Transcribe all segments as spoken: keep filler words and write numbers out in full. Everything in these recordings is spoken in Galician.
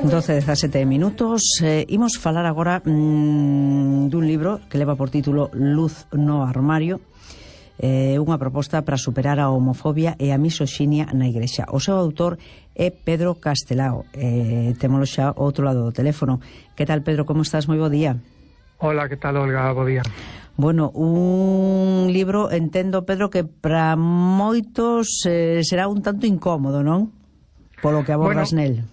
doce dezasete minutos. eh, Imos falar agora mmm, dun libro que leva por título Luz no armario, eh, unha proposta para superar a homofobia e a misoxinia na Igrexa. O seu autor é Pedro Castelao. eh, Témolo xa ao outro lado do teléfono. Que tal, Pedro? Como estás? Moi bo día. Hola, que tal, Olga? Bo día. Bueno, un libro, entendo, Pedro, que para moitos eh, será un tanto incómodo, non? Polo que abordas bueno, nel.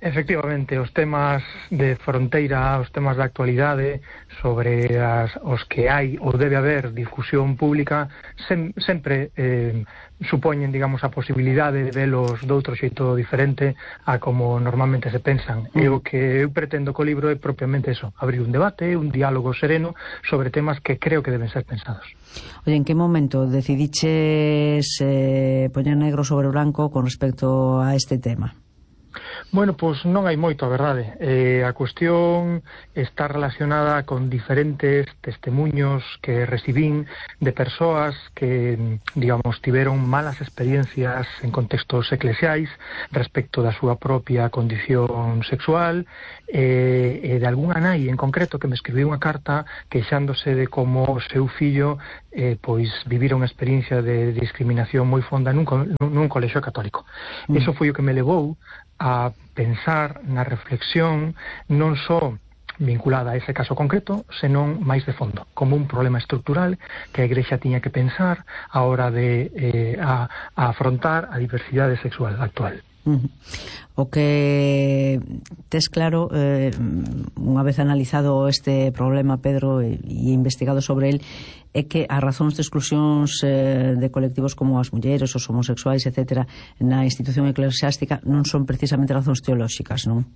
Efectivamente, os temas de fronteira, os temas da actualidade sobre as, os que hai ou debe haber discusión pública sem, sempre eh, supoñen, digamos, a posibilidade de velos doutro xeito diferente a como normalmente se pensan. Mm. E o que eu pretendo co libro é propiamente eso, abrir un debate, un diálogo sereno sobre temas que creo que deben ser pensados. Oye, en que momento decidiches eh, poñer negro sobre branco con respecto a este tema? Bueno, pois non hai moito, a verdade. Eh, a cuestión está relacionada con diferentes testemunhos que recibín de persoas que, digamos, tiveron malas experiencias en contextos eclesiais respecto da súa propia condición sexual, e eh, de algunha nai en concreto que me escribiu unha carta queixándose de como o seu fillo eh, pois vivira unha experiencia de discriminación moi fonda nun, nun colexio católico. Mm. Eso foi o que me levou a pensar na reflexión non só vinculada a ese caso concreto, senón máis de fondo, como un problema estrutural que a Igrexa tiña que pensar a hora de eh, a, a afrontar a diversidade sexual actual. Uh-huh. O que tes claro, eh, unha vez analizado este problema, Pedro, e, e investigado sobre el, é que as razóns de exclusións eh, de colectivos como as mulleres, os homosexuais, etcétera, na institución eclesiástica non son precisamente razóns teolóxicas, non?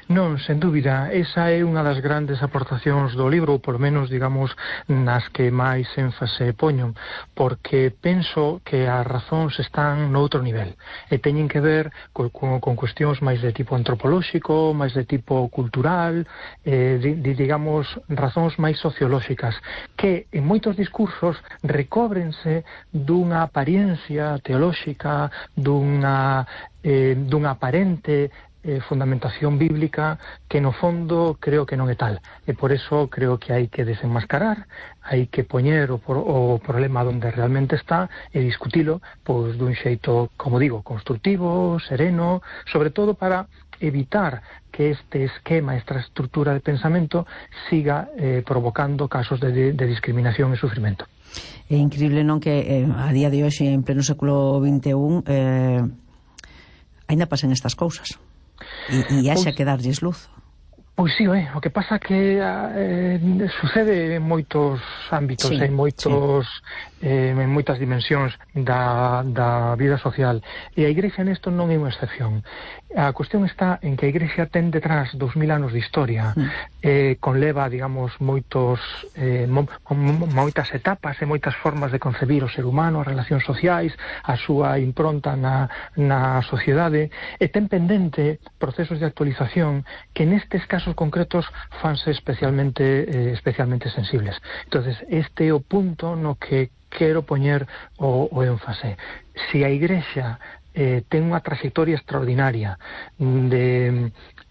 Non, sen dúbida, esa é unha das grandes aportacións do libro, ou por menos, digamos, nas que máis énfase poño, porque penso que as razóns están noutro nivel, e teñen que ver con, con cuestións máis de tipo antropolóxico, máis de tipo cultural, eh, di, digamos, razóns máis sociolóxicas, que en moitos discursos recóbrense dunha apariencia teolóxica, dunha, eh, dunha aparente Eh, fundamentación bíblica que no fondo creo que non é tal, e por eso creo que hai que desenmascarar, hai que poñer o, o problema onde realmente está e discutilo pois dun xeito, como digo, constructivo, sereno, sobre todo para evitar que este esquema, esta estrutura de pensamento siga eh, provocando casos de, de, de discriminación e sufrimento. É increíble, non, que eh, a día de hoxe, en pleno século vinte e un, eh, ainda pasen estas cousas. E, e haxa que darlles luz. Pois sí, eh, o que pasa que eh, sucede en moitos ámbitos, sí, en moitos sí. eh, en moitas dimensións da, da vida social, e a Igrexa nesto non é unha excepción. A cuestión está en que a Igrexa ten detrás dos mil anos de historia, mm. eh, conleva, digamos, moitos eh, mo, mo, moitas etapas e moitas formas de concebir o ser humano, as relacións sociais, a súa impronta na, na sociedade, e ten pendente procesos de actualización que nestes casos concretos fanse especialmente eh, especialmente sensibles. Entonces, este é o punto no que quero poñer o, o énfase. Se a Igrexa eh, ten unha trayectoria extraordinaria de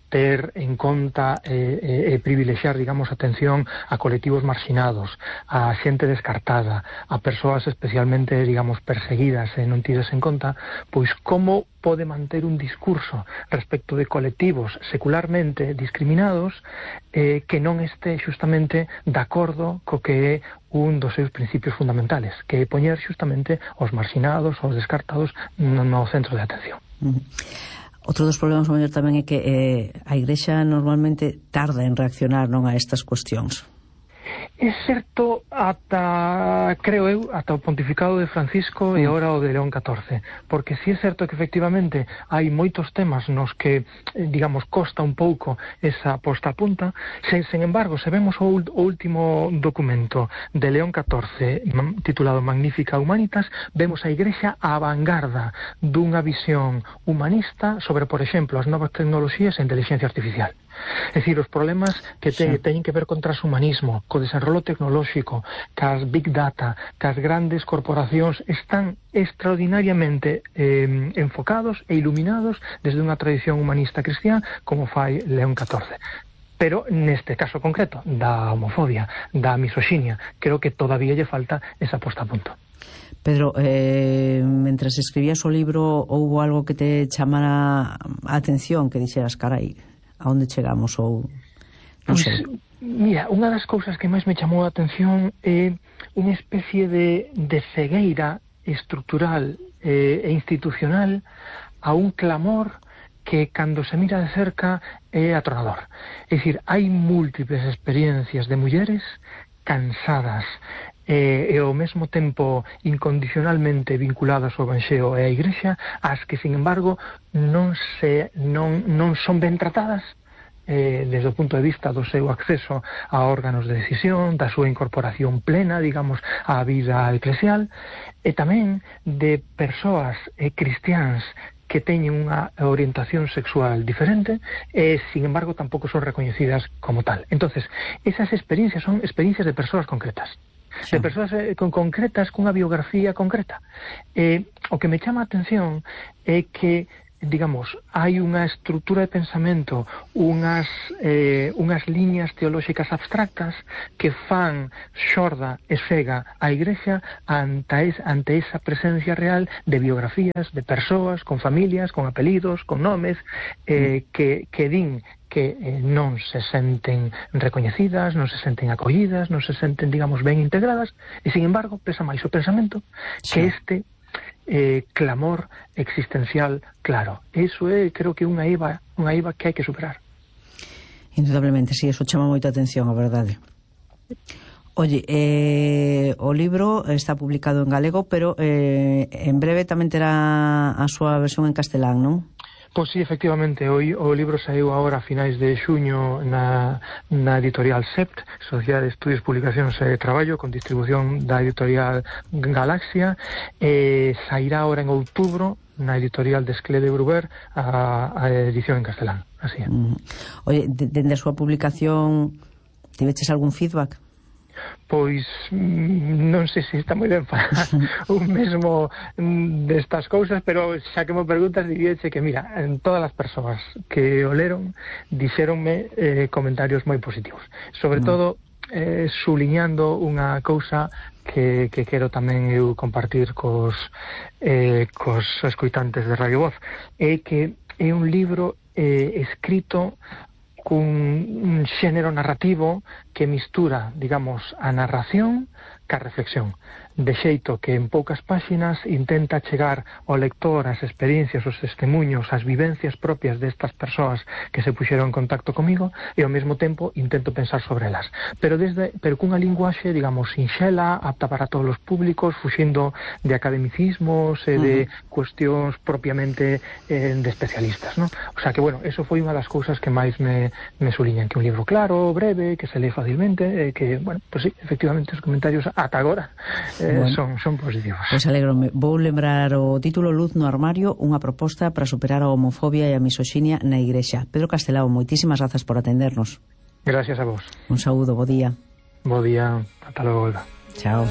ter en conta e eh, eh, privilexiar, digamos, atención a colectivos marxinados, a xente descartada, a persoas especialmente, digamos, perseguidas e non tidas en conta, pois como pode manter un discurso respecto de colectivos secularmente discriminados eh, que non este justamente de acordo co que é un dos seus principios fundamentales, que é poñer justamente os marxinados, os descartados no, no centro de atención. Uh-huh. Outro dos problemas maior tamén é que eh, a Igrexa normalmente tarda en reaccionar, non, a estas cuestións. É certo ata, creo eu, ata o pontificado de Francisco e agora o de León catorce, porque si é certo que efectivamente hai moitos temas nos que, digamos, costa un pouco esa posta a punta, sen, sen embargo, se vemos o, o último documento de León catorce titulado Magnificat Humanitas, vemos a Igrexa á vanguarda dunha visión humanista sobre, por exemplo, as novas tecnoloxías e a inteligencia artificial. É dicir, os problemas que te, sí. teñen que ver con transhumanismo, co desenrolo tecnolóxico, cas big data, cas grandes corporacións, están extraordinariamente eh, enfocados e iluminados desde unha tradición humanista cristiá como fai León catorce. Pero neste caso concreto, da homofobia, da misoxinia, creo que todavía lle falta esa posta a punto. Pedro, eh, mentras escribías o libro, houbo algo que te chamara a atención, que dixeras, carai, a onde chegamos, ou non pues, sei? Mira, unha das cousas que máis me chamou a atención é unha especie de, de cegueira estrutural eh, e institucional a un clamor que cando se mira de cerca é atronador. É dicir, hai múltiples experiencias de mulleres cansadas e, e ao mesmo tempo incondicionalmente vinculadas ao Evanxeo e á Igrexa, as que, sin embargo, non se non, non son ben tratadas eh, desde o punto de vista do seu acceso a órganos de decisión, da súa incorporación plena, digamos, á vida eclesial, e tamén de persoas eh, cristiáns que teñen unha orientación sexual diferente e, sin embargo, tampouco son recoñecidas como tal. Entonces, esas experiencias son experiencias de persoas concretas, sí. de persoas eh, con concretas, cunha biografía concreta. Eh, o que me chama a atención é que, digamos, hai unha estrutura de pensamento, unhas, eh, unhas liñas teolóxicas abstractas que fan xorda e cega a Igrexa ante, es, ante esa presencia real de biografías de persoas con familias, con apelidos, con nomes, eh, que, que din que eh, non se senten recoñecidas, non se senten acollidas, non se senten, digamos, ben integradas, e, sin embargo, pesa máis o pensamento sí. que este Eh, clamor existencial claro. Eso é, creo que unha eiva, unha eiva que hai que superar. Indudablemente, sí, eso chama moita atención, a verdade. Oye, eh, o libro está publicado en galego, pero eh, en breve tamén terá a súa versión en castelán, non? Pois sí, efectivamente, o, o libro saiu agora a finais de xuño na, na editorial S E P T, Sociedade de Estudios, Publicacións e Traballo, con distribución da editorial Galaxia, e sairá agora en outubro na editorial de Esclé de Bruber a, a edición en castelán. Así é. Mm. Oye, dende a súa publicación, tiveches algún feedback? Pois non sei se está moi ben falar un mesmo destas cousas, pero xa que me preguntas diríache que, mira, en todas as persoas que o leron dixéronme eh, comentarios moi positivos, sobre mm. todo eh, suliñando unha cousa que, que quero tamén eu compartir cos, eh, cos escoitantes de Radio Voz, é que é un libro eh, escrito cun un xénero narrativo que mistura, digamos, a narración ca reflexión, de xeito que en poucas páxinas intenta chegar ao lector as experiencias, os testemunhos, as vivencias propias destas persoas que se puxeron en contacto comigo, e ao mesmo tempo intento pensar sobre elas, pero desde pero cunha linguaxe, digamos, sinxela, apta para todos os públicos, fuxindo de academicismos e de uh-huh. cuestións propiamente eh, de especialistas, ¿no? O sea que, bueno, eso foi unha das cousas que máis me, me suliñan, que un libro claro, breve, que se lee facilmente, eh, que, bueno, pues sí, efectivamente os comentarios ata agora eh, bueno, son, son positivos. Pois pues alegrome. Vou lembrar o título Luz no armario, unha proposta para superar a homofobia e a misoxinia na Igrexa. Pedro Castelao, moitísimas grazas por atendernos. Gracias a vos. Un saúdo, bo día. Bo día, ata logo, Olga. Chao.